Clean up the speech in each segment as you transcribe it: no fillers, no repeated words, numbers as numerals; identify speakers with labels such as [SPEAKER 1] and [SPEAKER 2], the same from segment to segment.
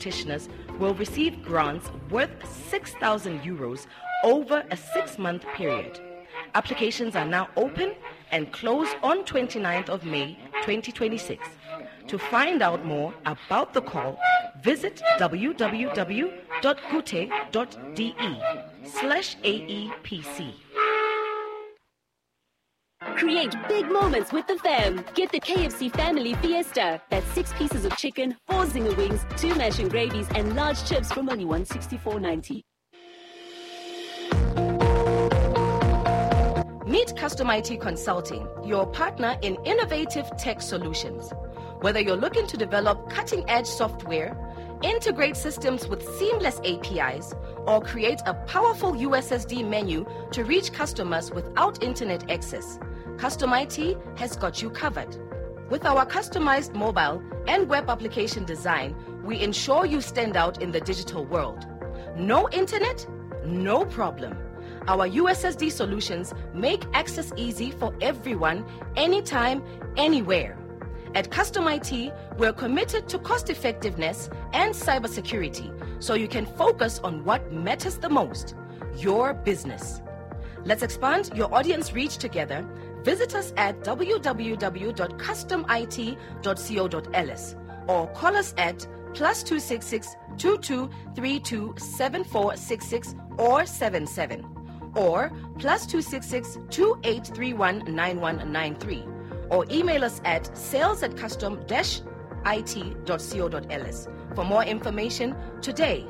[SPEAKER 1] practitioners will receive grants worth €6,000 over a 6-month period. Applications are now open and close on 29th of May 2026. To find out more about the call, visit www.goethe.de/aepc.
[SPEAKER 2] Create big moments with the fam. Get the KFC Family Fiesta. That's 6 pieces of chicken, 4 zinger wings, 2 mash and gravies, and large chips from only $164.90.
[SPEAKER 1] Meet Custom IT Consulting, your partner in innovative tech solutions. Whether you're looking to develop cutting-edge software, integrate systems with seamless APIs, or create a powerful USSD menu to reach customers without internet access, Custom IT has got you covered. With our customized mobile and web application design, we ensure you stand out in the digital world. No internet? No problem. Our USSD solutions make access easy for everyone, anytime, anywhere. At Custom IT, we're committed to cost effectiveness and cybersecurity, so you can focus on what matters the most, your business. Let's expand your audience reach together. Visit us at www.customit.co.ls or call us at +266 22 32 7466 or 77 or +266 2831 9193 or email us at sales@custom-it.co.ls for more information today.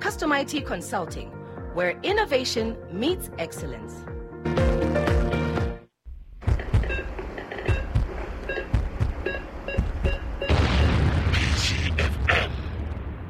[SPEAKER 1] Custom IT Consulting, where innovation meets excellence.
[SPEAKER 3] PCFM,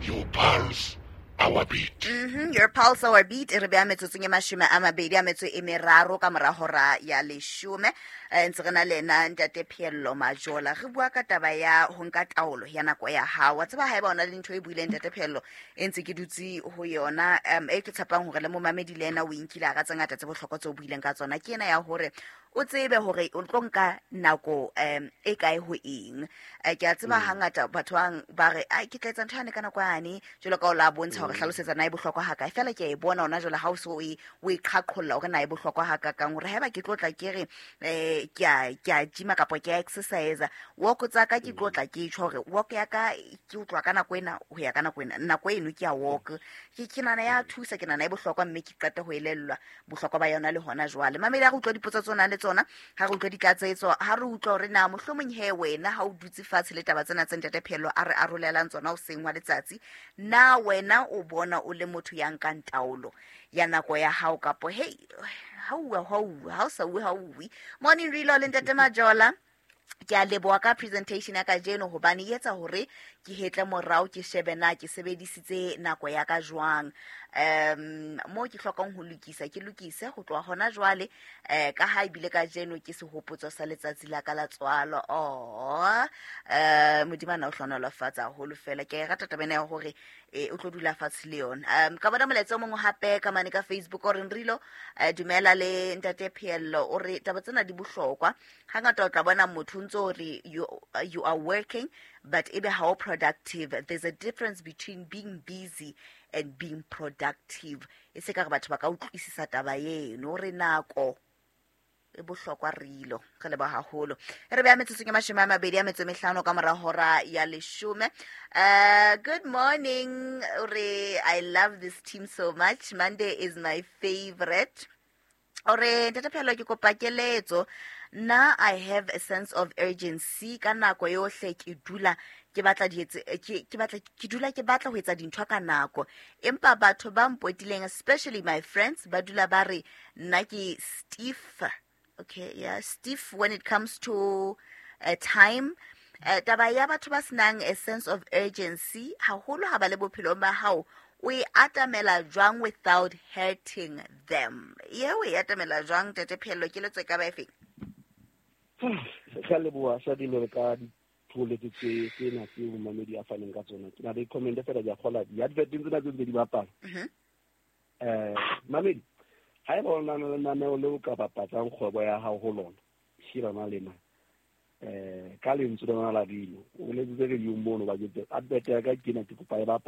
[SPEAKER 3] your pulse, our beat.
[SPEAKER 4] Your pulse, our beat. Re beya metsotsong e 23 ka mora hora ya 10. Ntse re na le ena ntate Pheello Majola. Re bua ka taba ya ho nka taolo ya nako ya hao. Wa tseba haeba ona le ntho e buileng ntate Pheello e ntse ke dutse ho yona, e ke tshepang hore le momamedi le ena o inkile a ka tse ngata tse bohlokwa tse o buileng ka tsona. Ke ena ya hore o tsebe hore o tlo nka nako e kae ho eng. Ke a tseba hangata batho ba re ai ke tla etsa ntho yane ka nako yane, jwalo ka o la bontsha hore hlalosetsa na e bohlokwa ha kae. Fela ke a e bona hona jwale ha o so o e qhaqholla hore na e bohlokwa ha kakang, hore haeba ke tlo tla ke re ke a gym kapa ke a exercise, walk tsa ka ke tlo tla ke tjho hore walk ya ka ke utlwa ka nako ena ho ya ka nako ena, nako eno ke a walk. Ke nana ya thusa, ke nana e bohlokwa, mme ke qete ho elellwa bohlokwa ba yona le hona jwale. Mamedi ha re utlwa dipotso tsona le tsona, ha re utlwa ditlatsetso, ha re utlwa hore na mohlomong he wena ha o dutse fatshe le taba tsena tse ntate Pheello a re arolelang tsona hoseng wa letsatsi, na wena o bona o le motho ya nkang taolo ya nako ya hao kapo hey ha o sa uwe ha uwe. Morning Rilo le ntate Majola, ke a leboha ka presentation ya kajeno hobane e etsa hore ke hetle morao ke shebe na ke sebedisitse nako ya ka jwang. Mo ke hlokang ho lokisa ke lokise ho tloha hona jwale, ka ha ebile kajeno ke sehopotso sa letsatsi la ka la tswalo. Modimo ana o hlohonolofatsa haholo fela. Ke a e rata taba ena ya hore o tlo dula fatshe le yona. Ka bona molaetsa o mongwe hape ka mane ka Facebook o reng Rilo, dumela le ntate Pheello, o re taba tsena di bohlokwa. Hangata o tla bona motho ntso o re you are working but ebe how productive. There's a difference between being busy and being productive. E se ka re batho ba ka utlwisisa taba eno, re nako e bohlokwa Rilo. Re leboha haholo. Re beha metsotsong e 25 ka mora hora ya 10. Good morning. Re I love this team so much. Monday is my favorite. Ore ntate Pheello ke kopa keletso. Na I have a sense of urgency ka nako yohle ke dula ke batla ke dula ke batla ho etsa dintho ka nako, empa batho ba mpotileng, especially my friends, ba dula ba re nna ke stiff. Okay, yeah, stiff when it comes to time. Taba ya batho ba senang a sense of urgency haholo ha ba le bophelong ba hao, o e atamela jwang without hurting them? Ye o e atamela jwang ntate Pheello? Keletso e ka ba efeng?
[SPEAKER 5] Ka leboha sa dilo ka ditholetso tsena tseo momamedi a faneng ka tsona. Ke na le comment fela ke a kgola di-advert tsena tse ntse di bapala. Mamedi, haeba o na le lenaneo leo ka bapatsang kgwebo ya hao ho lona, shebana le na. Ka lentswe lona la dilo, o letsitse radio mono ba ke advert ya ka ke ena ke kopa e bapala.